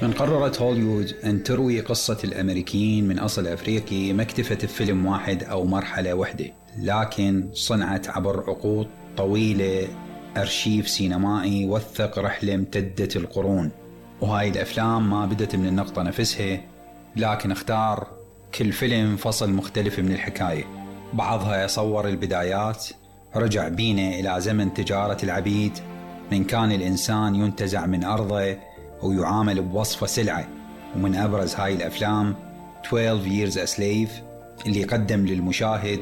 من قررت هوليوود أن تروي قصة الأمريكيين من أصل أفريقي ما اكتفت بفيلم واحد أو مرحلة واحدة، لكن صنعت عبر عقود طويلة أرشيف سينمائي وثق رحلة امتدت القرون. وهاي الأفلام ما بدت من النقطة نفسها، لكن اختار كل فيلم فصل مختلف من الحكاية. بعضها صور البدايات، رجع بينا إلى زمن تجارة العبيد، من كان الإنسان ينتزع من أرضه ويعامل بوصفة سلعة. ومن أبرز هاي الأفلام 12 Years a Slave اللي قدم للمشاهد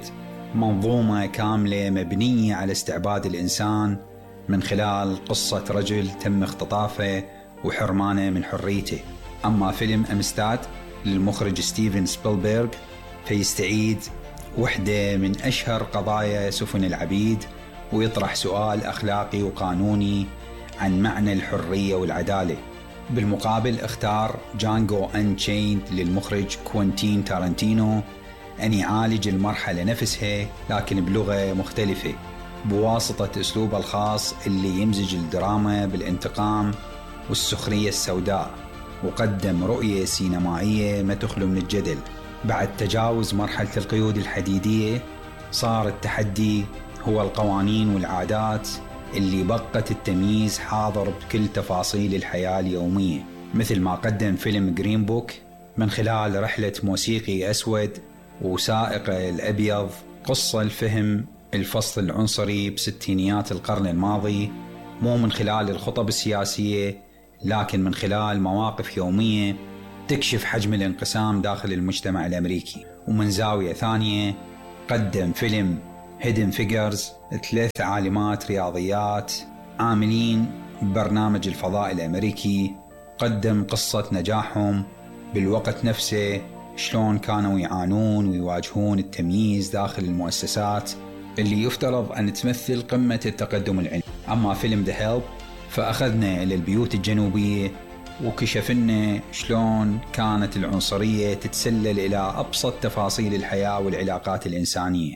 منظومة كاملة مبنية على استعباد الإنسان من خلال قصة رجل تم اختطافه وحرمانه من حريته. أما فيلم أمستاد للمخرج ستيفن سبيلبرغ فيستعيد وحدة من أشهر قضايا سفن العبيد، ويطرح سؤال أخلاقي وقانوني عن معنى الحرية والعدالة. بالمقابل اختار جانجو أنشيند للمخرج كوينتين تارانتينو أن يعالج المرحلة نفسها لكن بلغة مختلفة بواسطة أسلوبه الخاص اللي يمزج الدراما بالانتقام والسخرية السوداء، وقدم رؤية سينمائية ما تخلو من الجدل. بعد تجاوز مرحلة القيود الحديدية صار التحدي هو القوانين والعادات اللي بقت التمييز حاضر بكل تفاصيل الحياة اليومية، مثل ما قدم فيلم جرين بوك من خلال رحلة موسيقي أسود وسائق الأبيض قصة الفهم الفصل العنصري بستينيات القرن الماضي، مو من خلال الخطب السياسية لكن من خلال مواقف يومية تكشف حجم الانقسام داخل المجتمع الأمريكي. ومن زاوية ثانية قدم فيلم Hidden Figures 3 عالمات رياضيات عاملين ببرنامج الفضاء الأمريكي، قدم قصة نجاحهم بالوقت نفسه، شلون كانوا يعانون ويواجهون التمييز داخل المؤسسات اللي يفترض أن تمثل قمة التقدم العلمي. أما فيلم The Help فأخذنا إلى البيوت الجنوبية وكشفنا شلون كانت العنصرية تتسلل إلى أبسط تفاصيل الحياة والعلاقات الإنسانية.